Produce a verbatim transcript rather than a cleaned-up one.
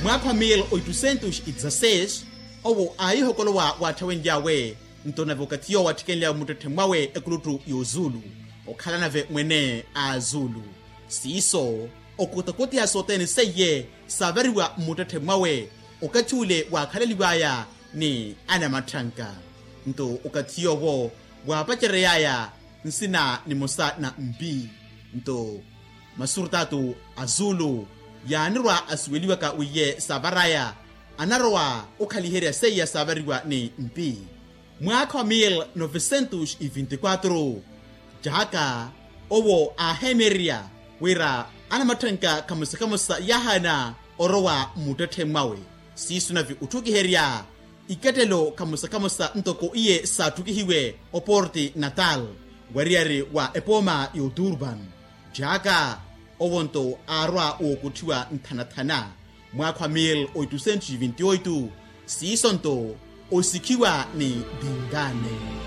Mwaakha wa mil oitusentos i dzaseis owo aahihokolowa waatthawenly'awe. Nto nave okathi yoowo atthikenly'awe mmuttetthe mwawe ekuluttu y'ozuulu, okhala nave mwene a azuulu. Siiso okutakuti ya sothene seiye saavariwa mmuttetthe mwawe. Okathi ule waakhalaliw'aya ni anamatthanka. Nto okathi yoowo waapacerery'aya nsina nimosa na mpi. Nto masurtatu a zuulu yaanirwa asuweliwaka wiiye saavar'aya anarowa okhaliherya seiya saavariwa ni mpi. Mwaakha wa mil novesentos e vinti kwatro, jaaka owo aaheemererya wira anamatthanka khamosa khamosa yaahaana orowa mmuttetthe mwawe. Siiso nave otthukiherya ikettelo khamosa khamosa ntoko iye saatthukihiwe oporti natal, wariyari wa epooma y'oturban. Jaaka owo nto aarwa wookutthiwa nthanathana. Mwaakha wa mil oitusentos e vinti oito, siiso nto osikhiwa ni dingane.